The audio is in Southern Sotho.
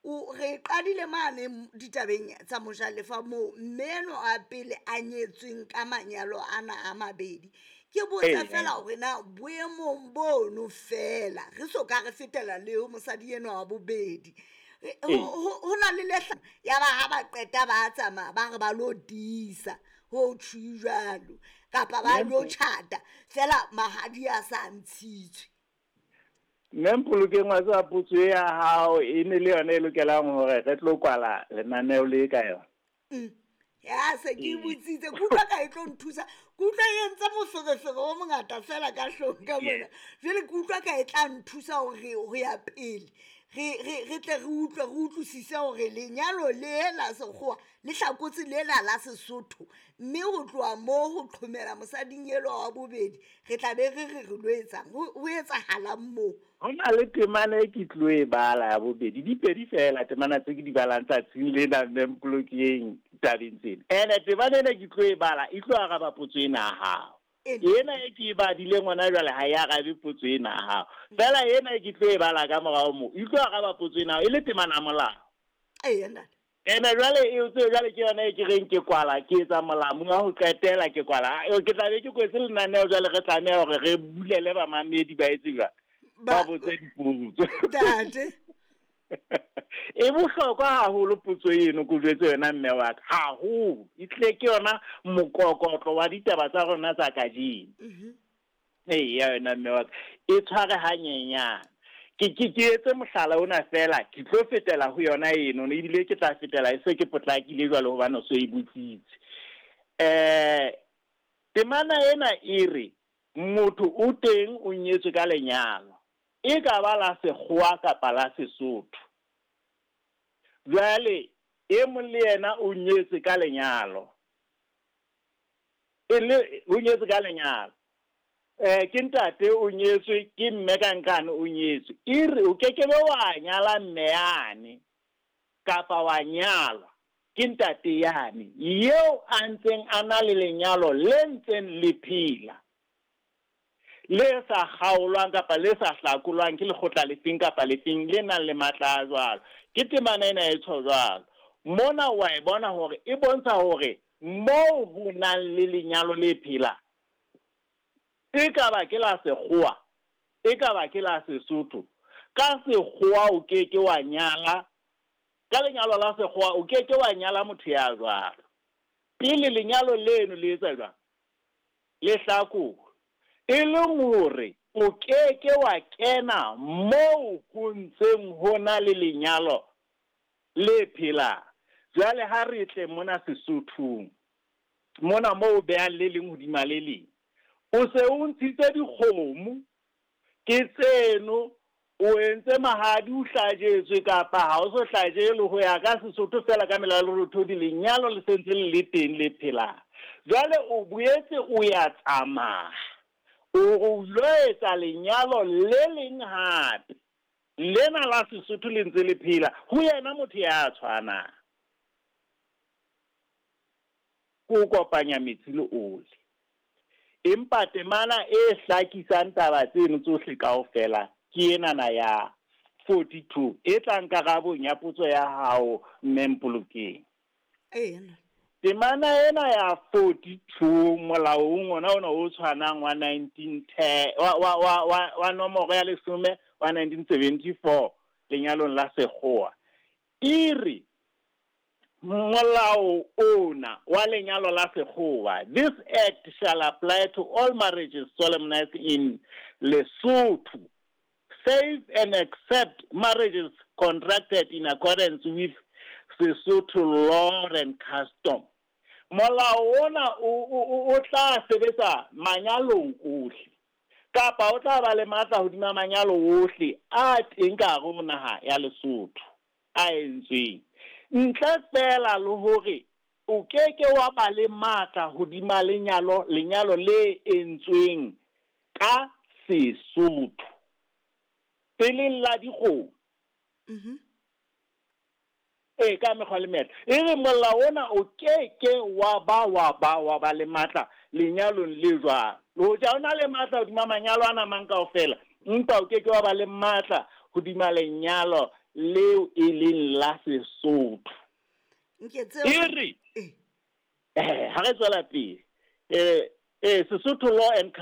O re qadile mane ditabeng tsa Mojalefa moo mme enwa wa pele a nyetsweng ka manyalo ana a mabedi. Ke botsa fela hore na boemong bono fela re so ka re fetela le ho mosadi enwa wa bobedi. Ho na le lehla ya ba ha ba qeta ba tsamaya ba re ba lo tiisa ho thwe jwalo kapa ba lo tjhata fela mahadi a sa ntshitswe. Mme Mpolokeng wa tseba potso e ya hao e ne le yona e lokelang hore re tlo kwala lenaneo le ka yona. Ya se ke botsitse ke utlwa ka e tlo nthusa, ke utlwa e entse moferefere o mongata fela ka hloohong ka mona. Jwale ke utlwa ka e tla nthusa hore ho ya pele re tle re utlwe re utlwisise hore lenyalo le la sekgowa le hlakotse lela la Sesotho, mme ho tloha moo ho qhomela mosading elwa wa bobedi re tla be re re re lo etsang, ho etsahalang moo. Ho na le temana e ke tlo e bala ya bobedi, di pedi fela temana tse ke di balang tsatsing lena mme Mpolokeng tabeng tsena. Ene temana ena ke tlo e bala e tlo araba potso ena ya hao. Ena e ke e badileng hona jwale ha e arabe potso ena ya hao. Fela ena e ke tlo e bala ka morao moo e tlo araba potso ena e le temana ya molao. Eya ntate. Ene jwale e tseo jwale ke yona e ke reng ke kwala, ke etsa molamu wa ho qetela ke kwala. Ke tla be ke kwetse lenaneo jwale re tlameha hore re bulele bamamedi ba etse jwang? Ba botse dipotso. Ntate. E bohlokwa haholo potso eno ke jwetse yona mme wa ka. Haholo. E tlile ke yona mokokotlo wa ditaba tsa rona tsa kajeno. Eya yona mme wa ka. E tshware hanyenyane. Ke etse mohlala ona fela, ke tlo fetela ho yona eno, ebile ke tla fetela e se ke potlakile jwalo hobane o so e botsitse. Temana ena e re motho o teng o nyetswe ka lenyalo, e ka ba la sekgowa kapa la Sesotho. Jwale e mong le yena o nyetswe ka lenyalo, e le o nyetswe ka lenyalo. Ke ntate o nyetswe, ke mme ka nkane o nyetswe. E re o kekebe wa nyala mme yane kapa wa nyalwa ke ntate yane eo a ntseng a na le lenyalo le ntseng le phela, le sa kgaolwang kapa le sa hlakolwang ke lekgotla lefeng kapa lefeng le nang le matla a jwalo. Ke temana ena e tjho jwalo. Mona wa e bona hore e bontsha hore moo ho nang le lenyalo le phelang, e ka ba ke la sekgowa, e ka ba ke la Sesotho, ka sekgowa o ke ke wa nyala, ka lenyalo la sekgowa o ke ke wa nyala motho ya jwalo. Pele lenyalo leno le etsa jwang? Le hlakolwa. E leng hore o ke ke wa kena moo ho ntseng ho na le lenyalo le phelang. Jwale ha re tle mona Sesothong, mona moo o behang le leng hodima le leng, o se o ntshitse dikgomo, ke tseno o entse mahadi o hlajetswe kapa ha o so hlajelwe ho ya ka Sesotho fela ka melao le rothodi, lenyalo le sentse le le teng le phelang. Jwale o boetse o ya tsamaya, o re o lo etsa lenyalo le leng hape, lena la Sesotho le ntse le phela ho yena motho ya tshwanang. Ke o kopanya metsi le oli. Empa temana e hlakisang taba tseno tsohle kaofela ke enana ya 42 e tlang karabong ya potso ya hao mme Mpolokeng. Temana ena ya 42 molaong ona ona o tshwanang wa 1910 wa nomoro ya 10 wa 1974 lenyalong la sekgowa, e re molao ona wa lenyalo la sekgowa, this act shall apply to all marriages solemnized in Lesotho, save and except marriages contracted in accordance with Sesotho law and custom. Molao ona o tla sebetsa manyalong ohle, kapa o tla ba le matla hodima manyalo ohle a teng ka hare ho naha ya Lesotho a entsweng, ntle fela le hore o keke wa ba le matla hodima lenyalo le entsweng ka Sesotho e leng la dikgomo. E ka mekgwa le meetlo. E re molao ona o keke wa ba le matla lenyalong le jwalo. Le hoja o na le matla hodima manyalo ana mang kaofela, empa o keke wa ba le matla hodima lenyalo leo e leng la Sesotho. E re eh ha re tswela pele, Sesotho law and